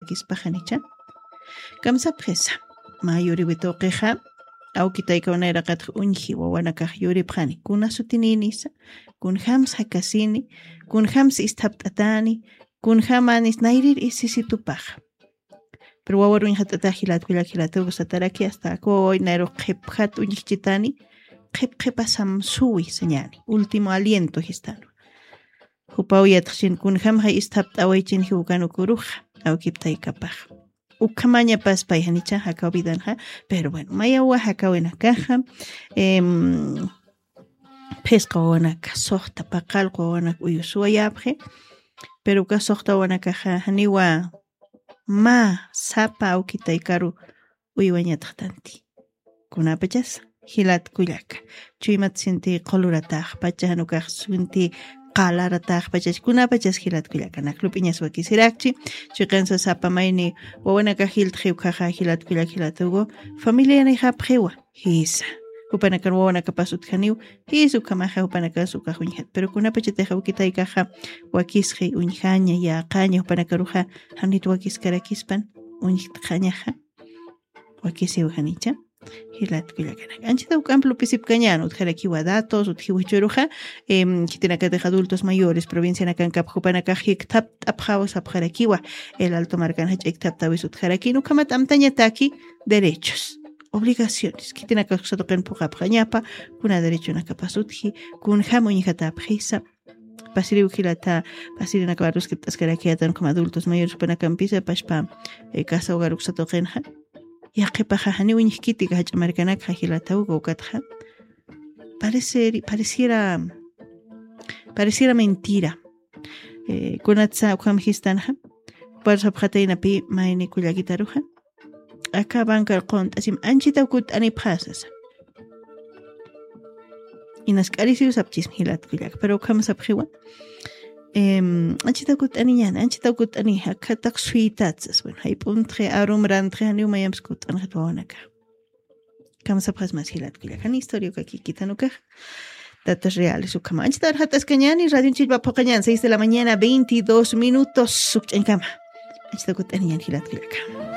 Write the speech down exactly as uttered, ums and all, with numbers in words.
jakispaxanicha. Kamsapxisa. Mä yuriwi tuqixa, awkitaykaw nayraqatx uñji wawanakax yuripxani kuna sutininisa, kunjams jakasini, kunjams isthapt'atani, kunjamanis nayrir isisitupaxa. Pero wawar uñjat'atax jilatkullak jilatugu sataraki asta akuwaway nayrux qhipjat uñjchitani, qhip qhipasam suwi sañani último aliento jistanu. Jupaw yatxchin kunjamxa isthapt'awaychin jiwkanukuruxa awkiptaykapax. Ukhamañapas payjanicha jakaw vidanxa. Pero bueno, mayawa jakawinakaxa, em, phisqa wawanaka suxta paqallqu wawanaka uyusuwayapxi. Pero uka suxta wawanakaxa janiwa mä sapa awkitaykaru uywañatxtanti. Kunapachas jilatkullaka, chuymat sinti qulurataxpacha janukax sinti qalarataxpachach kunapachas jilatkullaka naklup'iñas wakisirakchi. Chiqinsa sapa mayni wawanakax jiltxiwkhaxa jilatkullak jilatugu, familianixapxiwa jisa. Jupanakan wawanakapas utjaniw jisa ukhamaxa jupanakas ukax uñjat pero kunapachatix awkitaykaxa wakisxi uñjaña yäqaña jupanakaruxa, janit wakiskarakispan uñjtxañaxa. Wakisiw janicha jilatkullakanak anchita juk'amp lupisipkañan utjarakiwa datos utjiw jichhuruxa. Em, khitinakatix adultos mayores provincianakan kapxupanakax jikthapt'apxaw sapxarakiwa. El alto markan jach'a ikthaptawis utjarakin ukhamat amtañataki derechos, obligaciones khitinakax satuqin phuqapxañapa, kuna derechonakapas utji, kunjam uñjatapxisa. Pasiriw jilata, pasirinakawarus kipt'askarakiyatan ukham adultos mayores jupanakampisa pashpa, eh, casa hogar uksatuqinxa. Yaqhipaxa janiw uñjkitika jach'a markanakxa jilata uka ukatxa. Pareceri- pareciera pareciera mentira. Eh, kunatsa ukham jistanxa, parsapxataynapi mayni kullakitaruxa, aka bankar qunt'asim anchitaw kutt'anipxasasa. Inask'arisiw sapchismi jilatkullaka pero ukham sapxiwa. Em, anchitaw kutt'aniñani anchitaw kutt'ani akhataq suytatsas bueno jayp'untxi arum rantxi janiw mayamps kutt'anxit wawanaka. Kamsapxas mas jilatkullaka jani historia uka kikitanukax. Datos reales ukhama anchita arxat'askañani radion chillpa phuqañan seis de la mañana veintidós minutos sukch'añkama. Anchita kutt'aniñan jilatkullaka.